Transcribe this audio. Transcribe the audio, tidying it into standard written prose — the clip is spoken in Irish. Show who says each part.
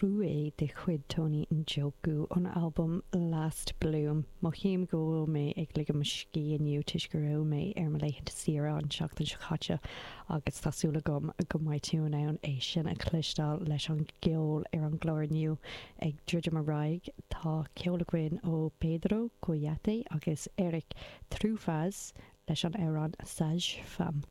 Speaker 1: Troué de chuid Tony Njoku ón albam Last Bloom. Mothaím go bhfuil mé ag ligean mo scíth inniu toisc go raibh mé ar mo laethanta saoire an tseachtain seo caite agus tá súil agam go mbeidh tú in ann é sin a chloisteáil leis an gceol ar an gclár inniu. Ag druidim ar aghaidh, tá ceol againn ó Pedro Kouyate agus Eric Truffaz leis an amhrán Sage Femme.